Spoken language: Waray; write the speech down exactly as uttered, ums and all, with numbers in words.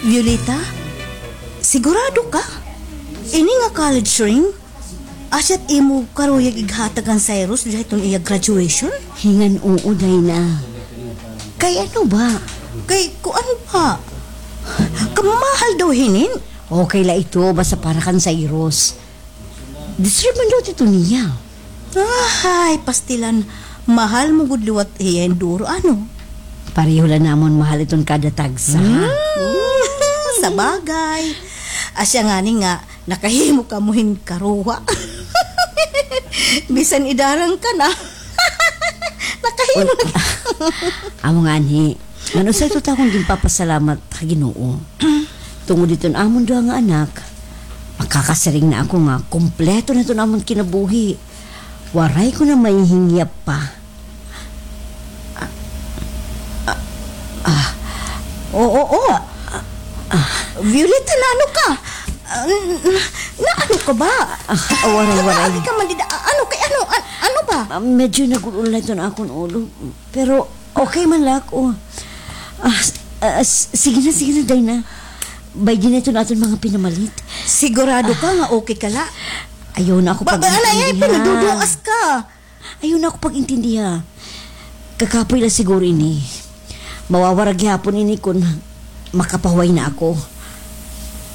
Violeta, sigurado ka? Ini nga college ring? Asya't imo karuyag ighatag kan Cyrus dida hiton iya graduation? Hingan-oo, Dina. Kay ano ba? Kay kuan ba? Kamahal daw hinin? Okay la ito, basta para kan Cyrus. Deserve man daw ito niya. Ay, pastilan. Mahal mo gud liwat hiya hin duro, ano? Pareho la namon mahal iton kada tagsa. Hmm. Sabagay. Asya ngani nga, nakahimo kamo hin karuha. Bisan idarang ka na. Nakahimo na. Amo ngani. Ngan usa ito ta akon ginpapasalamat ha Ginoo. Tungod hiton amon duha nga anak, makakasiring na ako nga kompleto na iton amon kinabuhi. Waray ko na mahihingyap pa. Ah, ah, ah. Oo, oo. Ah, ah. Violeta, naano ka? Ah, n-, n-, naano ka ba? Ah, waray, waray. Naagi ka man dida. Ah, ano kay, ano, an-, ano ba? Ah, medyo nag-ul-ol na iton akon ulo. Pero okay man la ako. Ah, s-, ah, s-, sige na, sige na, Dina. Baydi na iton aton mga pinamalit. Sigurado ka nga okay ka la? Ayaw na ako pag-intindiha. Ba, ba, ano, ay, pinaduduas ka. Ayaw na ako pag-intindiha. Kakapoy la siguro ini. Mawawara gihapon ini kon makapahuway na ako.